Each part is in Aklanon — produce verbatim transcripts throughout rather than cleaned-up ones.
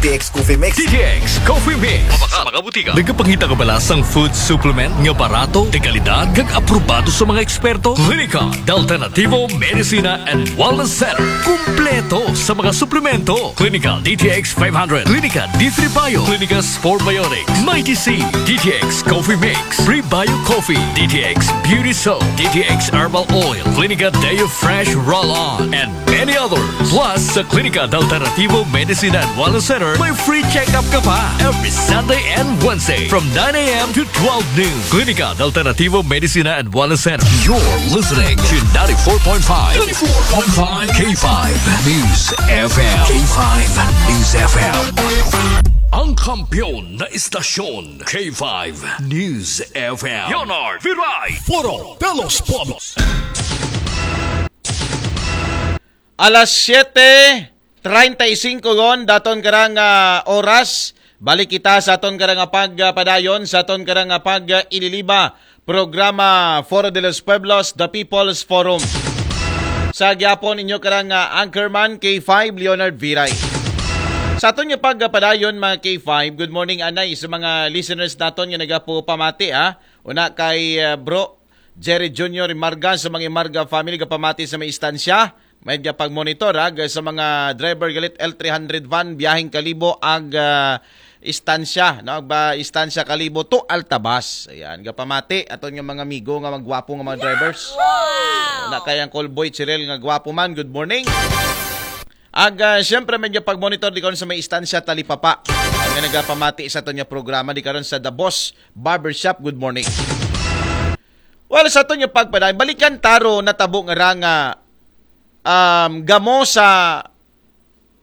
T X Coffee Mix. D T X Coffee Mix. Sa mga butika. Nagapangita ka bala sang food supplement nga barato, de kalidad, kag aprobado sa mga eksperto? Klinika de Alternativo Medicina and Wellness Center. Kumpleto sa mga suplemento. Klinika D T X five hundred, Klinika D three Bio, Klinika Sport Biotics, Mighty C, D T X Coffee Mix, Prebio Coffee, D T X Beauty Soap, D T X Herbal Oil, Klinika Deo Fresh Roll-On, and many others. Plus, sa Klinika de Alternativo Medicina and Wellness Center, may free check-up ka pa every Sunday and Wednesday from nine a.m. to twelve noon. Klinika de Alternativo Medicina and Wellness Center. You're listening to ninety-four point five, ninety-four point five K five News F M. K five News F M. Ang kampiyon na istasyon, K five News F M. Leonard Viray. Foro de los Pueblos. Alas siyete treinta y cinco gon, daton karang ah, oras. Balik kita sa aton karang ah, pagpadayon, sa aton karang ah, pag-ililiba. Programa Foro de los Pueblos, The People's Forum. Sa gyapon inyo karang ah, anchorman, K five, Leonard Viray. Sa aton nga pagpadayon, mga K five, good morning, anay, sa mga listeners naton nga nagapupamati, ha? Una kay ah, Bro Jerry Junior Imarga, sa mga Imarga family, gapamati sa may istansya. May nga pag-monitor, ha, sa mga driver galit L three hundred van, biyaheng Kalibo, ag ah, istansya, no? Ba, istansya Kalibo to Altabas. Ayan, gapamati aton nga mga amigo nga magwapo nga mga drivers. Wow! Na kay Uncle Boy Chirel nga gwapo man, good morning. Ag ah, siyempre, may nga pag-monitor di karon sa may istansya Talipapa. Nga nagapamati sa aton nga programa di karon sa The Boss Barbershop, good morning. Well, sa aton nga pagpadayon, balikan ta ron natabo nga ra nga um, gamo sa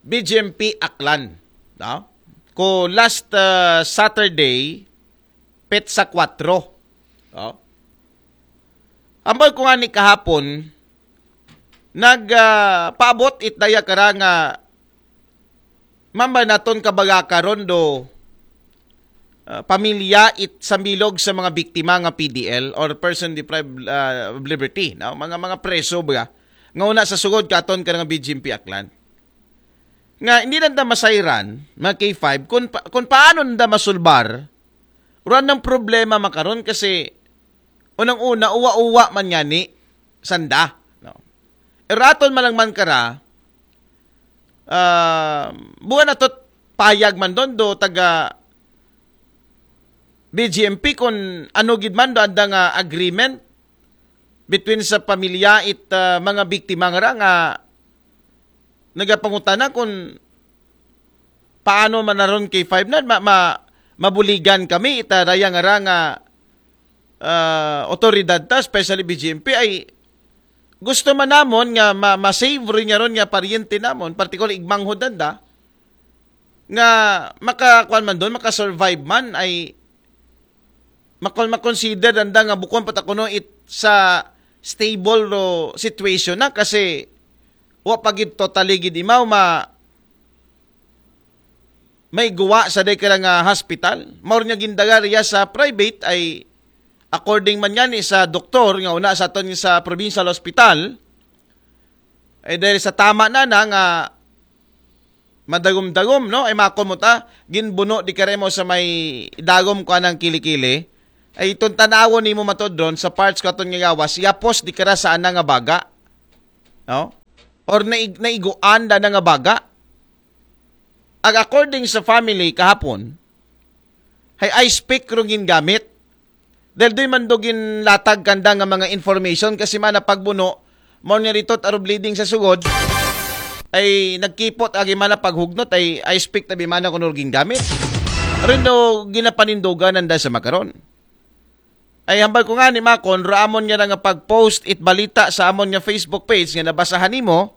B G M P Aklan, no? Ko last ah, Saturday, petsa kwatro, no? Ambal ko nga ni kahapon, nag ah, paabot it daya kara nga mamba naton kabaga karon do ah, pamilya it sambilog sa mga biktima nga P D L or person deprived ah, of liberty, no? Mga mga preso ba nga una sa sugod katon ka nga B G M P Aklan. Nga hindi lang ta masayran, mga K five, kung, pa, kung paano nda masulbar, wala nang problema makaron kasi unang-una, uwa-uwa man ngani, sanda. No? Eraton man lang man kara, ah, buwan na tot payag man doon do taga B G M P kung ano gid man do anda nga agreement between sa pamilya it ah, mga biktima nga ra nga nagapangutana kung paano man naron K five na ma, ma, mabuligan kami ita daya nga ra nga ah, otoridad ta, especially B G M P, ay gusto man namon nga ma, ma-save rin nga ron nga paryente namon, particularly igmanghod anda, nga makakuan man doon, makasurvive man, ay makon makonsider anda nga bukon pa ta kuno it sa stable ro situation na kasi wa pa gid totally gid imaw ma may guwa sa day kara nga hospital. Maor nga gindaga riya sa private ay according man ngani sa doktor nga una sa aton sa provincial hospital, ay dahil sa tama na na nga madagom-dagom, no? Ay makon mo ta, ginbuno di karemo sa may dagom ko anang kili-kili. Ay itong tanawon nimo matod ron sa parts ko aton nga gawas, yapos di kara sa ana nga baga. No? Or naig, naiguan da na nga baga. Ag according sa family kahapon, hay ice pick rong gingamit. Dahil do'y man do ginlatag kanda nga mga information kasi mana pagbuno, mao niya rito aro bleeding sa sugod, ay nagkipot agi mana paghugnot ay ice pick tabi mana kuno gingamit. Rin do ginapanindugan nanda sa makaron. Ay hambal ko nga ni Makon, ra amon nga nga pag-post it balita sa amon nga Facebook page nga nabasahan nimo,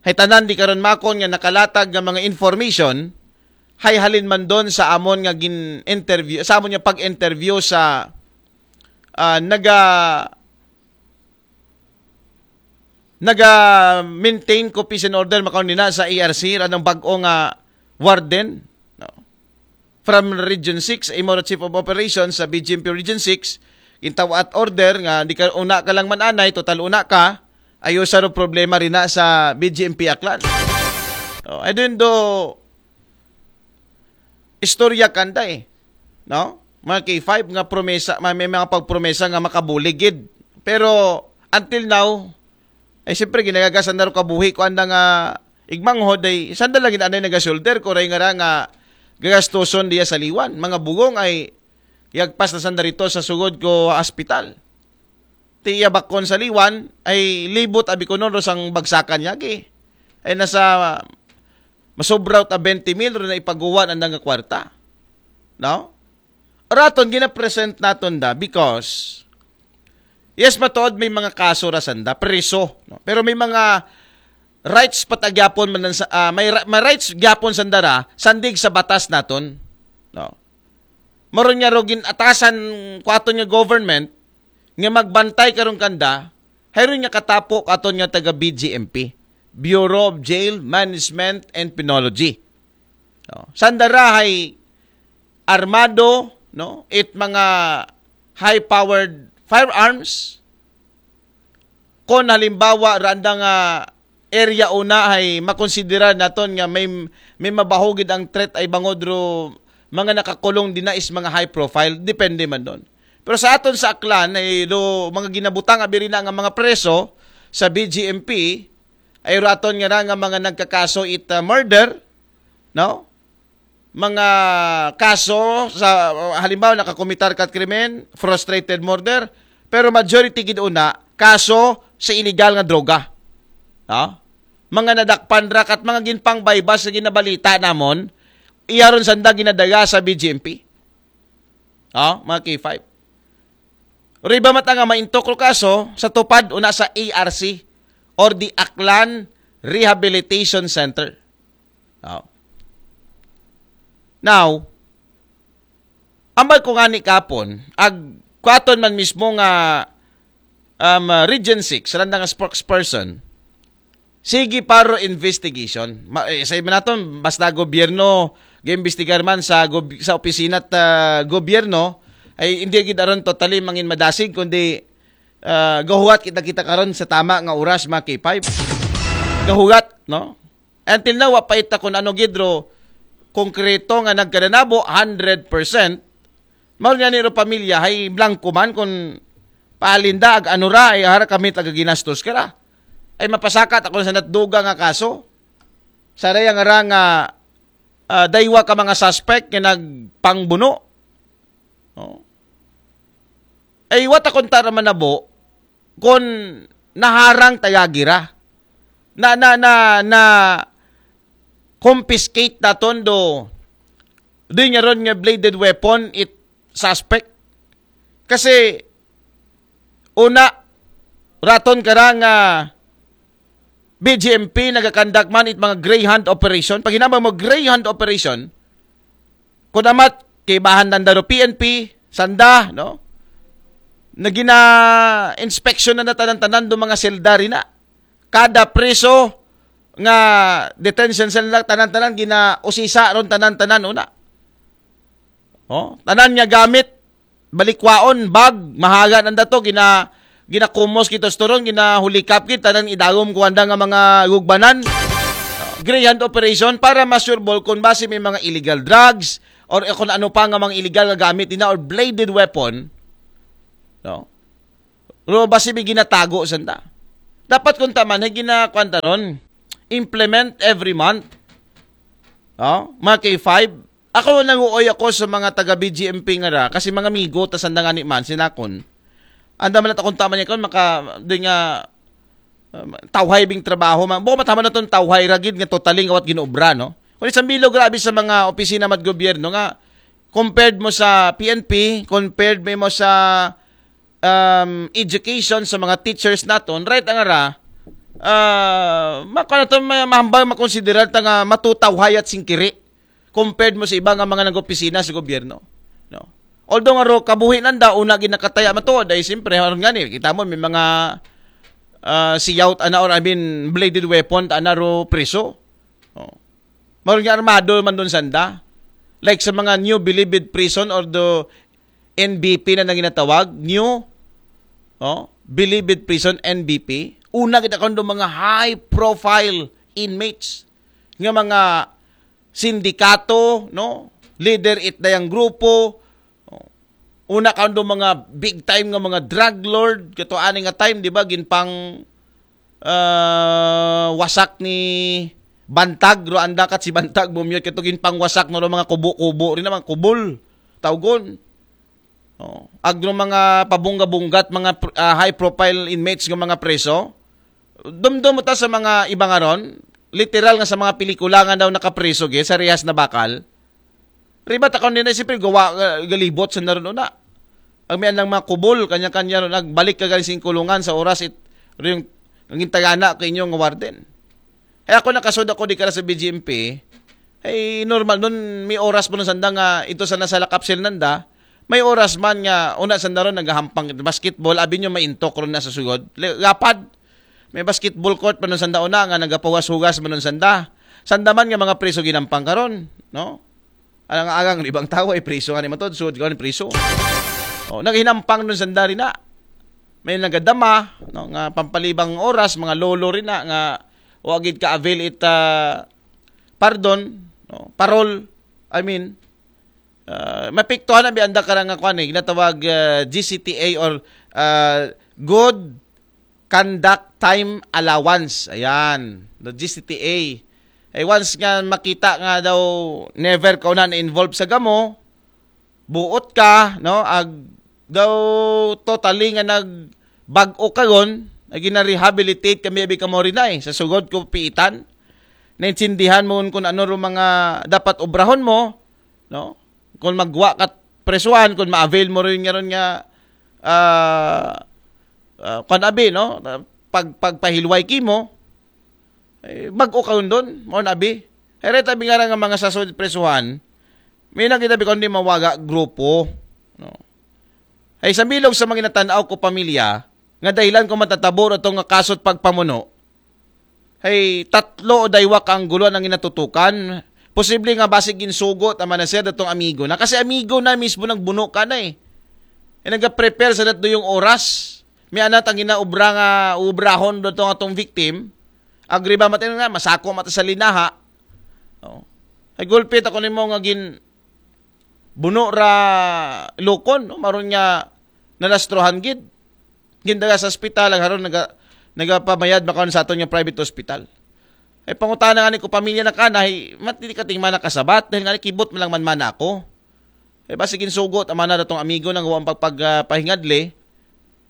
hay tanan di karon Makon nga nakalatag nga mga information, hay halin man doon sa amon nga gin-interview, sa amon nga pag-interview sa ah, naga naga-maintain ko peace and order makaon din na sa A R C, ranang bag-o nga warden, no? From Region six, imo ra Chief of Operations sa B G M P Region six, gintawa at order nga di ka una ka lang man anay, total una ka, ayo sa ro problema rin na sa B G M P Aklan. Oh, I don't do istorya kanda eh. No? Mga K five nga promesa, may, may mga pagpromesa nga makabulig gid. Pero until now, ay siyempre ginagasan na ro kabuhi ko anda nga igmanghod ay sanda lang ginanay nagasulder ko ray nga ra nga gagastuson diya sa liwan. Mga bugong ay yagpas na sanda rito sa sugod ko hospital. Ti iya bakon sa liwan ay libot abi ko nun ro sang bagsakan niya gi. Ay nasa masobra ta twenty mil ro na ipaguwa na nga kwarta. No? Raton ginapresent naton da because yes, matuod may mga kaso ra sanda, preso, no? Pero may mga rights patagyapon man sa ah, may, ra- may rights gyapon sanda ra sandig sa batas naton, no? Maron nga ro gin-atasan ko aton nga government nga magbantay karon kanda, hayron nga katapo ko aton nga taga B J M P, Bureau of Jail Management and Penology. No? Sanda ra hay armado, no? It mga high-powered firearms. Kon halimbawa ra anda nga area una ay makonsidera naton nga may may mabaho gid ang threat ay bangod ro mga nakakulong dina is mga high profile, depende man don. Pero sa aton sa Aklan ay do mga ginabutang abi rina nga mga preso sa B G M P ay raton nga ra nga mga nagkakaso it uh, murder, no? Mga kaso sa halimbawa nakakomitar ka krimen, frustrated murder, pero majority gid una kaso sa illegal nga droga. No? Mga nadakpan ra kat mga ginpangbaybas sa ginabalita namon, iyaron sanda ginadaga sa B G M P. Oh, mga K five. Riba mata nga maintok ro kaso sa tupad una sa A R C or the Aklan Rehabilitation Center. Oh. Now, ambal ko nga ni kapon, ag kuaton man mismo nga um, uh, Region six, randa nga spokesperson, sige paro investigation. Ma, eh, sa iba naton, basta gobyerno, giimbestigar man sa gob- sa opisina at uh, gobyerno, ay hindi gid aron totally mangin madasig kundi uh, gahuwat kita kita karon sa tama nga oras mga K five. Gahuwat, no? Until now wa pa ita kun ano gid ro konkreto nga nagkadanabo hundred percent. Mao nga ni ro pamilya hay blanco man kun palinda ag ano ra ay hara kami taga ginastos kara. Ay mapasakat ako sa natduga nga kaso. Sa raya nga ra nga uh, daywa ka mga suspect nga nagpangbuno. Oh. Ay wata kon tara manabo kon naharang tayagira. Na na na na confiscate naton do do nga ron nga bladed weapon it suspect. Kasi una raton kara nga B G M P nagakandak man it mga greyhound operation. Pag hinambang mo greyhound operation, kun amat kay bahan nanda ro P N P, sanda, no? Nagina inspection na tanan-tanan do mga selda rina. Kada preso nga detention cell na tanan-tanan gina usisa ron tanan-tanan una. Oh, tanan nga gamit balikwaon, bag, mahaga nanda to gina ginakumos kito storon, ginahulikap kit tanan idagom ko anda nga mga gugbanan. Greyhound operation para masureball kung basi may mga illegal drugs or kung ano pa nga mga illegal nga gamit nila or bladed weapon, no? Ro basi may ginatago sanda. Dapat kung taman hay ginakuan ta ron, implement every month. Oh, mga K five, ako nanguoy ako sa mga taga B G M P nga ra kasi mga amigo ta sanda nga ni man sinakon. Anda man at akong tama niya kon maka di nga um, tawhay bing trabaho man. Buko matama na ton tawhay ragid nga totaling awat ginobra, no? Kung isang bilo grabe sa mga opisina mat gobyerno nga compared mo sa P N P, compared mo sa um, education sa mga teachers naton, right ang ara, uh, mako na to ma- mahambal makonsiderar ta nga matutawhay at singkiri compared mo sa iba nga mga nag-opisina sa gobyerno, no? Although nga ro kabuhi nanda una ginakataya matuod ay siyempre aron nga ni kita mo may mga uh, siyaw ana or I mean bladed weapon ana ro priso. Oh. Maron nga armado man doon sanda. Like sa mga new bilibid prison or the N B P na nang ginatawag, new oh, bilibid prison N B P. Una kita kon mga high profile inmates nga mga sindikato, no? leader it dayang grupo. Una karon do mga big time nga mga drug lord, kato ani nga time, di ba, ginpang ah, wasak ni Bantag, ro anda kat si Bantag, bumiyot kato, ginpangwasak no ro mga kubo-kubo rin naman, kubol, tawgon. Oh, agro mga pabungga-bunggat, mga pr- ah, high profile inmates ng mga preso. Dumdum ta sa mga iba nga ron, literal nga sa mga pelikula nga daw nakapreso gi sa rehas na bakal. Ribat ako nila, siyempre, gawa, uh, galibot sa naroon una. Ang may anang mga kubol, kanya-kanya ron, nagbalik ka galing sa kulungan sa oras it, yung, ang intagana ko inyo nga warden. Ay ako nakasud ako di ka sa B G M P, ay normal nun, may oras mo nun sanda nga, ito sa nasa lakapsil nanda, may oras man nga, una sanda ron, naghahampang basketball, abi nyo maintok ron na sa sugod. Le- Lapad, may basketball court pa nun sanda una, nga nagapawas-hugas man nun sanda. Sanda man nga mga preso ginampang karon, no? Alang agang ibang tao ay priso nga ni matod, sud ka ni priso. Oh, naghinampang nun sanda rin na. May nagadama, no, nga pampalibang oras, mga lolo rin na, nga wagid ka avail it ah, pardon, no, parol, I mean, uh, mapiktuhan na bianda ka nga kwan eh, ginatawag ah, G C T A or ah, good conduct time allowance. Ayan, the G C T A. Ay once nga makita nga daw never ka na na-involve sa gamo, buot ka, no? Ag daw totally nga nagbag-o ka gon, ay gina-rehabilitate kami abi ka mo rin ay sa sugod ko piitan. Naintindihan mo kung ano ro mga dapat obrahon mo, no? Kung magwa ka presuhan, kung ma-avail mo rin nga ron nga ah, ah, kwan abi, no? Pag pagpahilway kimo, eh, bag-o ka doon, mo na abi. Ere tabi nga nga mga sasod presuhan, may nakita bi kundi mawaga grupo, no? Ay sa bilog sa mga natanaw ko pamilya, nga dahilan ko matatabo ito nga kasot pagpamuno, ay tatlo o daywa ka angguluan ang ginatutukan. Posible nga basig ginsugot ang manager datong amigo na. Kasi amigo na mismo nagbuno ka na eh. E nagka-prepare sa natdo yung oras. May anat ang ginaobra nga ubrahon datong atong victim. Agri ba mati nga masako mata sa linaha. Oh. Ay gulpit ako nimo nga gin buno ra lukon, no? Maron nga nalastrohan gid. Gindaga sa ospital, ang haron naga, nagapamayad makaon sa aton nga private hospital. Ay pangutana nga ni ko pamilya na kana, ay mati ka ting mana kasabat, dahil nga ni kibot man lang man mana ako. Ay basig insugot ang mana datong amigo nang huwag pagpagpahingadli,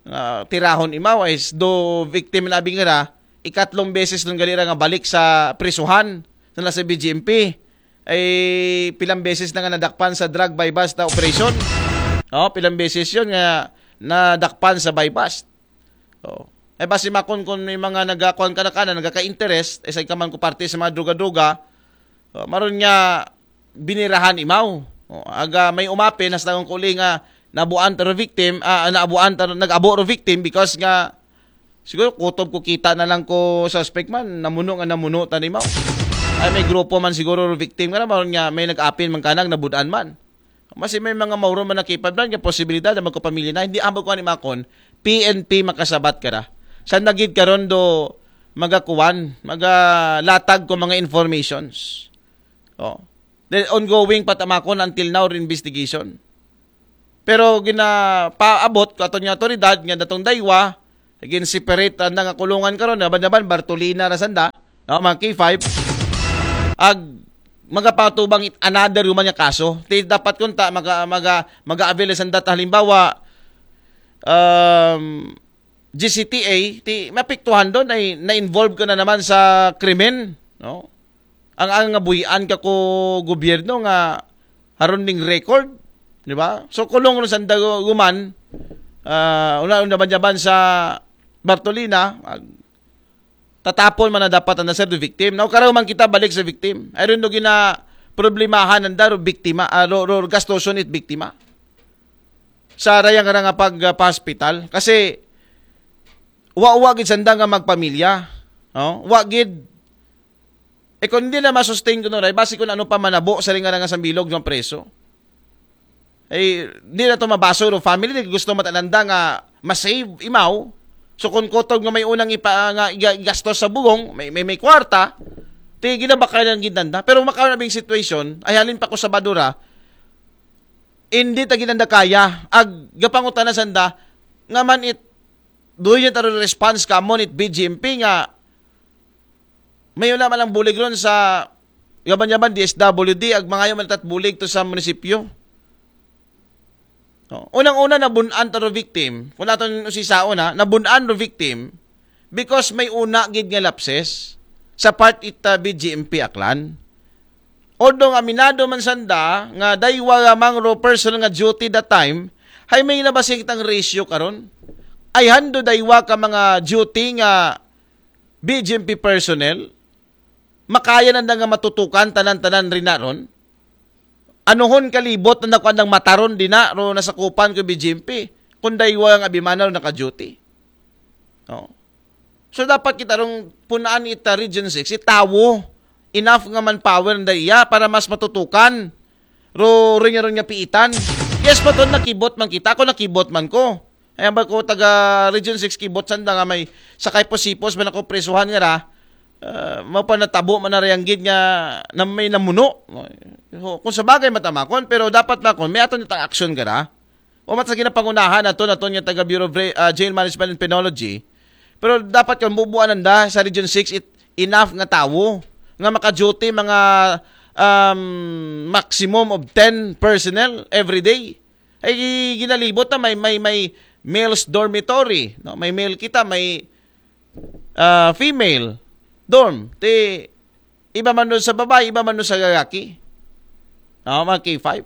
nga tirahon imaw, ay do victim na abing ra, ikatlong beses nung gali ra nga balik sa prisuhan na nasa B G M P. Ay pilang beses na nga nadakpan sa drug buy-bust na operation. Oh, pilang beses yon nga nadakpan sa buy-bust. Oh. Ay basi makon kung may mga nagakuan ka na ka na nagaka-interest, ay sa ikaman ko parte sa mga droga-droga, oh, maron nga binirahan imaw. Oh, aga may umapin, nas tawang kuli nga nabuan taro victim, ah, nabuan taro, nag-abo ro victim because nga siguro kutob ko kita na lang ko suspect man, namuno nga namuno tani mao. Ay may grupo man siguro ro victim nga na, maron nga may nag-apin man kanang nabudan man. Masi may mga mauron man nakipad man nga posibilidad na magkapamilya na, hindi ambag ko ani makon, P N P makasabat ka ra. Sa nagid karon do magakuan, magalatag ko mga informations. Oh. Then ongoing pa tamakon until now investigation. Pero ginapaabot ko aton nga otoridad nga datong daywa, again separate anda nga kulungan karon, naban-naban Bartolina ra sanda, no, mga K five. Ag magapatubang it another human nga kaso. Ti dapat kunta maga maga maga-avail sanda ta halimbawa um, G C T A, ti mapiktuhan doon ay na-involve ka na naman sa krimen, no? Ang ang nga buhian ka ko gobyerno nga haron ding record, di ba? So kulong ron sa daguman, ah, una una jaban sa Bartolina, ag- tatapon man na dapat ang sir do victim. Now karaw man kita balik sa victim. Ay ron do gina problemahan ang daro biktima, ah, ro, ro, gastoson it biktima. Sa rayang nga pag ah, pa-hospital kasi wa wa gid sanda nga magpamilya, no? Wa gid. E kung hindi na masustain ko no, basi kung ano pa manabo sa ringa nga sambilog ng preso. Eh, di na to mabaso ro family, gusto matananda nga ma-save imaw. So kung kutog nga may unang ipa nga iga- igastos sa bugong, may may, may kwarta, ti ginabakay lang gid nanda. Pero makaon na bing situation, ay halin pa ko sa badura, Hindi ta gid nanda kaya. Ag gapangutana sanda, nga man it, do you ta response ka mo it B G M P nga, may una man ang bulig ron sa yaban-yaban D S W D, ag mangayo man tat bulig to sa munisipyo. No? Unang-una, nabun-an to ro victim. Kung aton usisaon, ha, nabun-an ro victim because may una gid nga lapses sa part ita B G M P Aklan. Although aminado man sanda nga daywa lamang ro personnel nga duty that time, hay may nabasing tang ratio karon. Ay hando daywa ka mga duty nga B G M P personnel, makaya nanda nga matutukan tanan-tanan rina ron. Anuhon kalibot na nakuan ng mataron dina ro nasakupan ko B G M P. Kung daywa ang abimana ro naka-duty. Oh. So dapat kita rong punaan ita Region six, itawo. Enough nga manpower na iya para mas matutukan. Ro, ro niya, ro niya piitan. Yes, baton nakibot man kita. Ako nakibot man ko. Ayan ba ko taga Region six kibot sanda nga may sakay posipos man ako presuhan nga ra. Ah, mao pa natabo man na rayang gid nga na may namuno. So, kung sa bagay matamakon, pero dapat makon, may aton itang aksyon gara. O mat sa ginapangunahan ato naton nga taga Bureau of Re- ah, Jail Management and Penology. Pero dapat kung bubuan nanda sa Region six, it, enough nga tawo nga maka-duty mga um, maximum of ten personnel every day. Ay ginalibot na may may may males dormitory, no? May male kita, may ah, female dorm. Ti iba man doon sa babae, iba man doon sa lalaki. No, mga K five.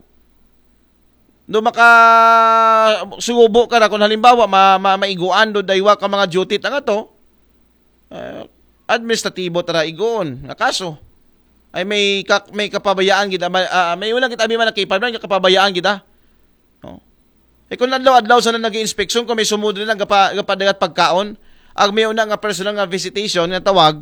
Do maka subo ka na kung halimbawa ma, ma, maiguan do daywa ka mga duty ta nga to. Ah, administratibo tara igoon nga kaso. Ay may ka, may kapabayaan gid, ah, may una kita abi man K five nga kapabayaan gid, ah. No? Eh kung adlaw-adlaw sa na nag-inspeksyon, kung may sumud rin ang gapa, gapadagat pagkaon, ag may una nga personal nga visitation nga tawag,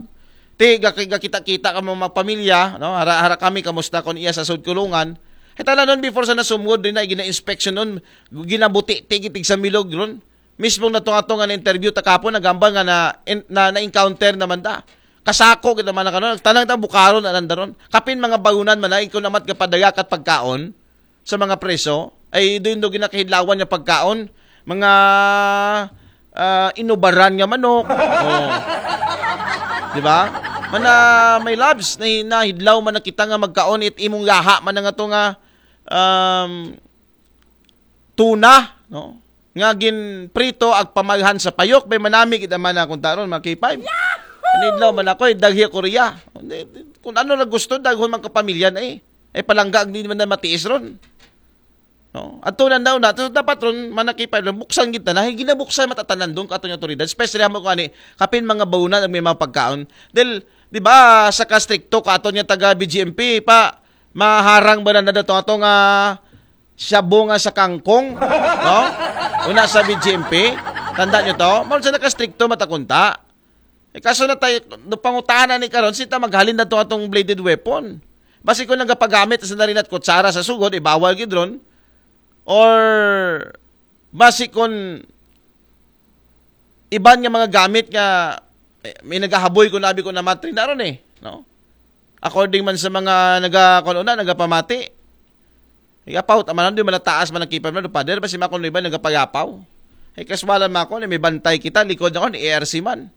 ti gaki- gakita-kita ka mga pamilya, no? Hara, hara kami kamusta kon iya sa sud kulungan. Hita na nun before sa nasumud rin na gina-inspection nun, ginabuti ti gitig sa milog ron. Mismo na to ato nga na-interview ta kapon, nagambal nga na, in- na, na-encounter naman ta. Kasako kita man na kanon, tanang ta bukaron ananda ron. Kapin mga baunan man na, ikaw namat gapadagat pagkaon sa mga preso, ay doon do ginakahidlawan nga pagkaon, mga ah, inubaran nga manok. Oh. Di ba? Mana may labs na nahidlaw man na kita nga magkaon it imong yaha man nga to nga um, tuna, no? Nga ginprito ag pamalhan sa payok, may manami kita man akong taron, mga K five. Nidlaw man ako, eh, daghi ako riya. Kung ano na gusto, daghon man kapamilya na eh. Ay palangga, hindi man na matiis ron. No? At tunan daw na, so, dapat ron, manakipay ron, buksan kita na, gina buksan matatanan doon kato yung otoridad, especially mo kung ani, kapin mga baunan ang may mga pagkaon. Dahil, di ba, sa kastrikto, kato niya taga B G M P, pa, maharang ba na dato ato nga shabu nga sa kangkong? No? Una sa B G M P, tanda nyo to? Mao sa nakastrikto matakunta. Eh, kaso na tayo, no, pangutana ni karon, sita maghalin na to atong bladed weapon. Basi kung nagapagamit sa narin at kutsara sa sugod, ibawal gid ron. Or, basi kung iban nga mga gamit nga, eh, may nagahaboy ko nabi ko namatri na ron eh. No? According man sa mga naga, kung una, nagapamati. Igapaw, tama na, di man taas man ang kipam na, pader, basi makon iban, nagapayapaw. Eh, kaswalan man ako, may bantay kita, likod na ko, ni A R C man.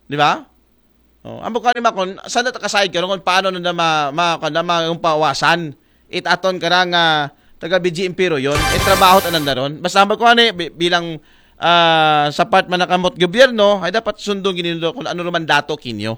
Di ba? Oh, amo ka ni Makon, sana ta kasayod ka kung paano na ma, ma, ka na ma, yung pawasan. It aton ka nga taga B G M P ro yun. It trabaho ta nanda ron. Basta mo ko ani bi- bilang ah, sa part man nakamot gobyerno, ay dapat sundong ginindo kung ano ruman dato kinyo.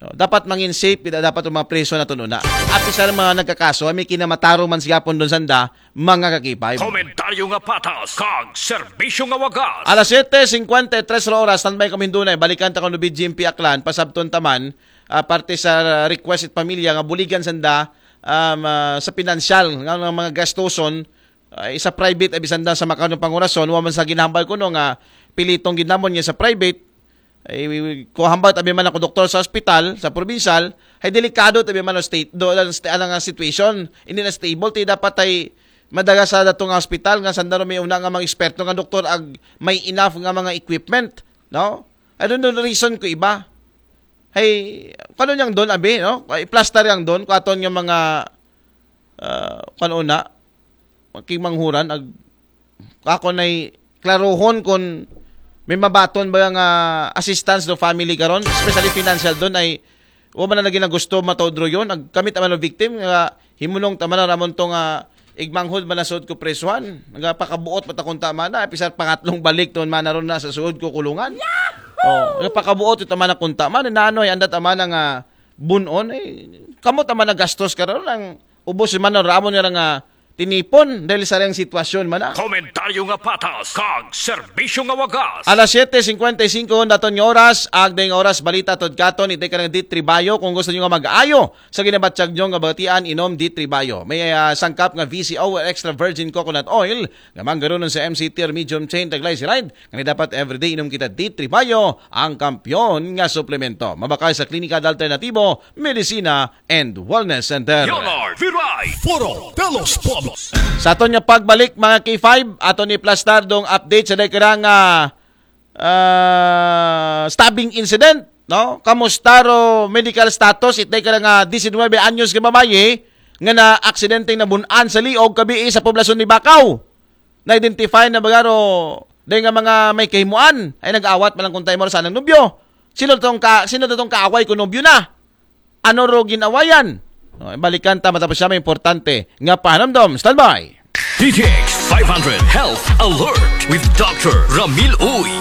No, dapat mangin safe kita dapat ang mga preso na tununa. At isa ng mga nagkakaso ay may kinamataro man siya pon doon sanda, mga kakipay. Komentaryo nga patas, kag serbisyo nga wagas. Alas siyete singkwenta y tres ra oras, standby kami doon ay balikan ta kung B G M P Aklan, pasabton taman, ah, parte sa request it pamilya nga buligan sanda um, ah, sa pinansyal nga ng mga gastuson, ah, sa private, abi sanda sa makanong pangurason, wa man sa ginahambal kuno nga pilitong ginamon niya sa private, ay, ko hambal tabi man ako doktor sa ospital, sa provincial, ay delikado tabi man ang state, do, ang st- ang situation, hindi na stable, ti dapat ay madaga sa datong hospital nga sandaro may una nga mga eksperto nga doktor ag may enough nga mga equipment, no? I don't know the reason ko iba. Hey, kano niyang doon, abi, no? Ay, plaster yang doon, kung aton nga mga, ah, kano una, Kay manghuran, ag, ako na'y klaruhon kung may mabaton ba nga assistance do family karon, especially financial don ay wa man na lagi na gusto mataod ro yun. Ag kami ta man ang victim nga himunong ta man na ramon to nga igmanghod man na suod ko presuhan. Nga pakabuot mata kung tama na, pisar pangatlong balik to man na ron na sa suod ko kulungan. Oh, nga pakabuot ito man na kung tama na, nanoy, anda tama na nga bunon, eh, kamo tama na gastos karon ang ubos man na ramon nga nga tinipon dahil sa rang sitwasyon man na. Komentaryo nga patas, kag serbisyo nga wagas. Alas siyete cincuenta y cinco naton nga oras, agday nga oras balita tod katon, itay ka ng D three Bayo. Kung gusto nyo nga mag-ayo sa ginabatyag nyo nga batian, inom D three Bayo. May ah, sangkap nga V C O or extra virgin coconut oil nga manggarunon sa M C T or medium chain taglaysiride. Nga dapat everyday inom kita D three Bayo, ang kampiyon nga suplemento. Mabakal sa Klinika de Alternatibo, Medisina and Wellness Center. Leonard Viray, Foro de los Pueblos. Sa aton nga pagbalik, mga K five, aton ni plastar dong update sa dagkara nga ah, stabbing incident, no? Kamusta ro medical status itay ka nga diecinuebe anyos nga babayi nga na aksidenteng nabunan sa liog kabii sa poblasyon ni Bacau? Na-identify na ba ro dahil nga mga may kahimuan ay nag-awat man lang kung tayo mo sa nang nobyo. Sino tong ka sino tong kaaway ko nobyo na? Ano ro ginawayan? O, balikan ta matapos siya may importante nga pahanamdom. Standby. D T X five hundred Health Alert with Doctor Ramil Uy.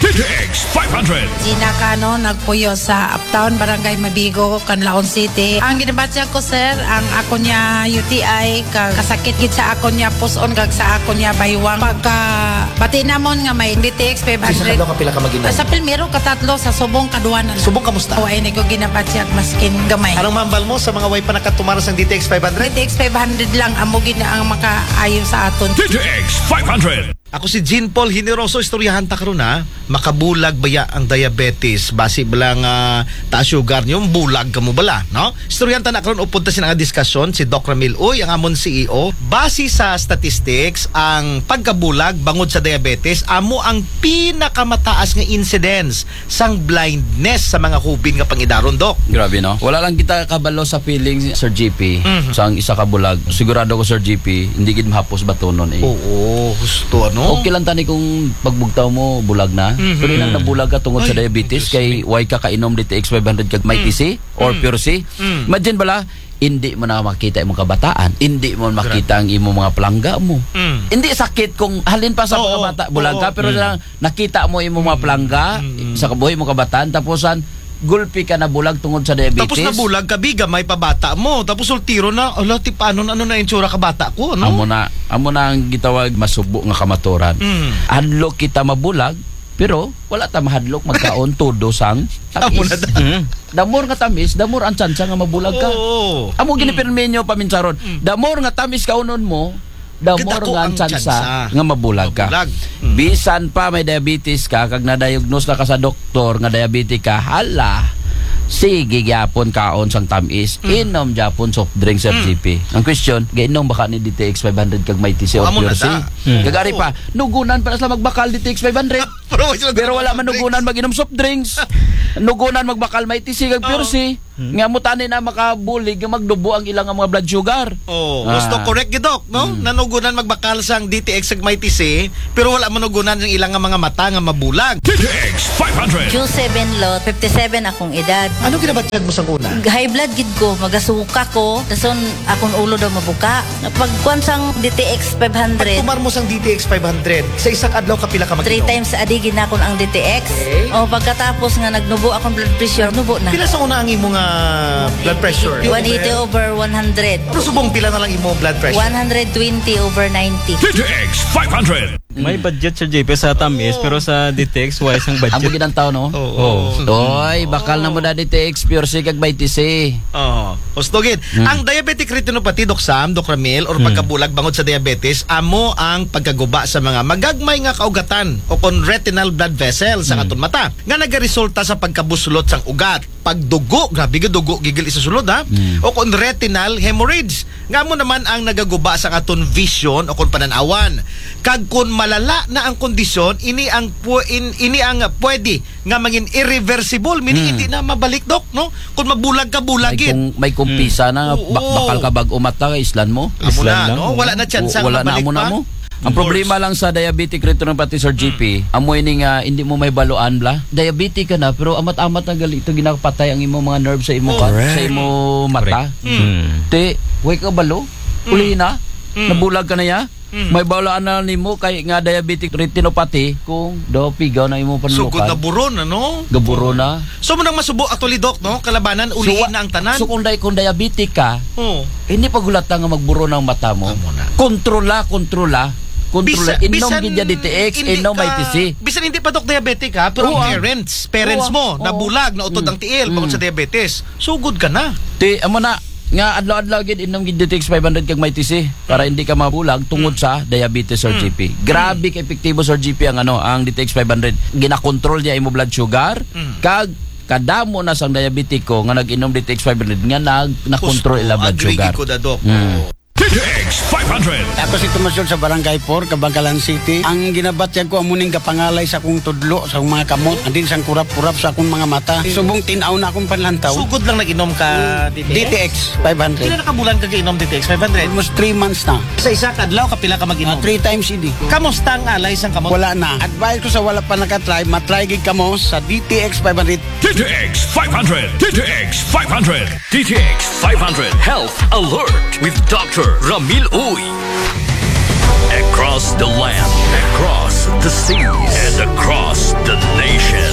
D T X five hundred. Gina Cano, nagpuyo sa Uptown, Barangay Mabigo, Canlaon City. Ang ginabatya ko, sir, ang ako niya U T I, kag kasakit gid sa ako niya puson, kag sa ako niya baywang. Pagka bati namon nga may D T X Sa five hundred. Kadlaw ka pila ka mag-inom? Sa primero, katatlo, sa subong, kaduwa na lang. Subong, kamusta? O, ay, ni ko ginabatyag maskin gamay. Anong mambal mo sa mga way pa nakatumar sa D T X five hundred? D T X five hundred lang, amo gid na ang makaayo sa aton. D T X five hundred. Ako si Jean Paul Generoso, istoryahan ta karon, ha. Makabulag baya ang diabetes? Basi bala nga taas sugar niyo, bulag kamo bala, no? Istoryahan ta na karon, upod ta sina nga diskasyon, si Doc Ramil Uy, ang amon C E O. Base sa statistics, ang pagkabulag bangod sa diabetes amo ang pinakamataas nga incidence sang blindness sa mga hubin nga pangidaron, Doc. Grabe, no? Wala lang kita kabalo sa feelings, Sir G P, Mhm. sa ang isa ka bulag. Sigurado ko, Sir G P, hindi gid mahapos batunon, eh. Oo, husto, ano? Okay lang tani kung pagbugtaw mo, bulag na. Mhm. Pero ilang nabulag ka tungod sa Ay, diabetes, Diyos kay ko. Why ka kainom D T X five hundred kag Mighty Mm. C or Mm. Pure C? Mm. Imagine bala, hindi mo na makita imong kabataan, hindi mo makita ang imong mga palangga mo. Mm. Hindi sakit kung halin pa sa Oo, mga bata, bulag ka, oo. Pero Mm. lang, nakita mo imong mga Mm. palangga Mm, mm. sa kabuhi mo kabataan, tapos an, gulpi ka na bulag tungod sa diabetes. Tapos nabulag ka, biga, may pabata mo. Tapos ultiro na, ala, ti paano na, ano na itsura ka bata ko, ano? Amo na, amo na ang gitawag masubo nga kamaturan. Mm. Hadlok kita mabulag, pero wala ta mahadlok magkaon todo sang tamis. Amo na ta. Mm. The more nga tamis, the more ang tsansa nga mabulag ka. Oo. Amo Mm. ginipirminyo paminsaron. Mm. The more nga tamis kaunon mo, the Kadako more nga ang ang tsansa tsansa. Nga mabulag ka. Mabulag. Mm. Bisan pa may diabetes ka, kag na-diagnose na ka sa doktor nga diabetic ka, hala, sige gyapon kaon sang tamis. Mm. Inom gyapon soft drink, Sir Mm. G P. Ang question, gainom ba ka ni D T X five hundred kag Mighty C O, Amo na Pure C? Ta. Mm. Kag ari pa, nugunan pa na sila magbakal D T X five hundred. Pero wala sila Pero wala manugunan mag-inom soft drinks. Nugunan magbakal Mighty C kag Pure Oo. C. Hmm. Nga mo tani na makabulig nga magdubo ang ilang mga blood sugar. Oh, Ah. gusto correct gid, Doc, no? Hmm. Nanugunan magbakal sang D T X ug Mighty C, pero wala manugunan ang ilang nga mga mata nga mabulag. D T X five hundred. Q seven lot, fifty-seven akong edad. Ano ginabatyag mo sang una? High blood gid ko, magasuka ko, dason akong ulo daw mabuka. Pagkuan sang D T X five hundred. Pagtumar mo sang D T X five hundred, sa isang adlaw kapila ka mag-inom? Three times a day ginakon ang D T X. Okay. O, pagkatapos nga nagnubo akong blood pressure, nubo na. Pila sa una ang imo nga blood pressure? One eighty over one hundred. Pero subong pila na lang imo blood pressure? One hundred twenty over ninety. D T X five hundred. May budget sa J P sa tamis, Oo. pero sa D T X, wala siyang budget. Amo gid ang tao, no? Oo. Oo. Doy, bakal na mo na D T X, Pure C, kag Mighty C. Oo. Husto gid. Hmm. Ang diabetic retinopathy, Doc Sam, Doc Ramil, or Hmm. pagkabulag bangod sa diabetes, amo ang pagkaguba sa mga magagmay nga kaugatan o kon retinal blood vessel sa Hmm. aton mata nga nagaresulta sa pagkabuslot sang ugat. pagdugo, grabe gyud, dugo gigil isa sulod, ha? Mm. O kon retinal hemorrhage, nga amo naman ang nagaguba sa aton vision o kon pananawan. Kag kon malala na ang kondisyon, ini ang pu- in- ini ang pwede nga mangin irreversible, meaning Mm. hindi na mabalik, Doc, no? Kon mabulag ka, bulag May gid. kung may kumpisa na, Oo. bak- bakal ka bag-o mata, islan mo. Amo na, Islan na, no? oo. Wala na chance Wala na mabalik mo na pa. mo. Ang Of problema course. Lang sa diabetic retinopathy, Sir G P, amo ini nga hindi mo mahibaluan, bla. Diabetic ka na, pero amat-amat na gali ito ginapatay ang imo mga nerve sa imo Oh. pa, Correct. sa imo mata. Hmm. Te, way ka balo. Uli na. Mm. Nabulag ka na ya. Mm. Mahibaluan na nimo kay nga diabetic retinopathy kung daw pigaw na imo Sugod na panlukan. Buron, ano? Gaburo na. So, mo nang masubo, actually, Doc, no? Kalabanan, ulihin wa- na ang tanan. So kung, di- kung diabetic ka, Oh. hindi pagulata nga magburo ng mata mo. Amo na. Kontrola, kontrola. Kontrola. Inom gid ya D T X, hindi inom may ka- T C. Bisan hindi pa, Doc, diabetic, ha? Pero Oo, ah. parents, parents Oo, mo, ah. Oo. nabulag, nautod Mm. ang tiil, bangod Mm. sa diabetes. Sugod ka na. Ti, amo na, nga adlaw-adlaw gid inom gid D T X five hundred kag may T C para hindi ka mabulag tungod sa diabetes, Sir Mm. G P. Grabe ka epektibo, Sir G P, ang ano, ang D T X five hundred. Ginakontrol niya imo blood sugar, Mm. kag kadamo na sang diabetiko nga nag-inom D T X five hundred nga nag nakontrol ila blood Agree sugar. Ko da, Doc. Mm. D T X five hundred. Ako si Tomas Yod sa Barangay four, Kabangkalan City. Ang ginabatyag ko, amuning gapangalay sa akong tudlo, sa akong mga kamot, andin sang kurap-kurap sa akong mga mata. Subong tinaw na akong panlantaw. Sugod lang nag-inom ka D T X? D T X five hundred. Pila na ka bulan ka giinom D T X five hundred? Almost three months na. Sa isa ka adlaw, kapila ka Ah, mag-inom? Three times a day. Kamusta ang alay sang kamot? Wala na. Advice ko sa wala pa nakatry, matry gid kamo sa D T X five hundred. D T X five hundred. D T X five hundred. D T X five hundred Health Alert with Doctor Ramil Uy. Across the land, across the seas, and across the nation,